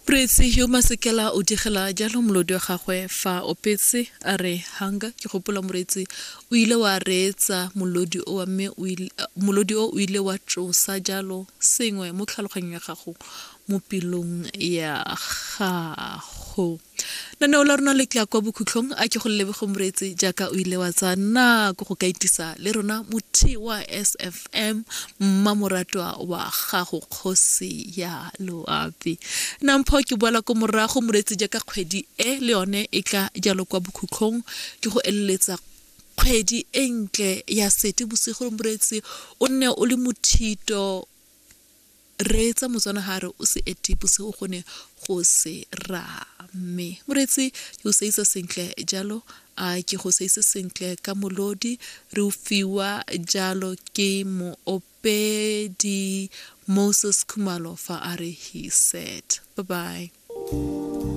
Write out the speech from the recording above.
Moreetsi yo Masekela o digela jalo molodi wa gagwe fa opetse a re hunger. Ke gopola moreetsi o ile wa reetsa molodi o wa mme molodi o o ile wa tsosa jalo sengwe mo tlhaloganyong ya gago mo pelong ya gago. Lenaneo la rona le tla kwa bokhutlhong a ke go leboge moreetsi jaaka o ile wa tsaya nako go ka itisa le rona mothi wa SFM mmamoratwa wa gago kgosi ya loapi. Nampho ke boela ko morago moreetsi jaaka kgwedi e le yone e tla jalo kwa bokhutlhong ke go eleletsa kgwedi e ntle ya sete bosigo moreetsi o nne o le mothito Reetsa Motswana ga a re o se ete bosigo go ne go se rame. Moreetsi ke go seisa sentle jalo a ke go seise sentle ka molodi re o fiwa jalo ke moopedi Moses Khumalo fa a re he said. Bye bye.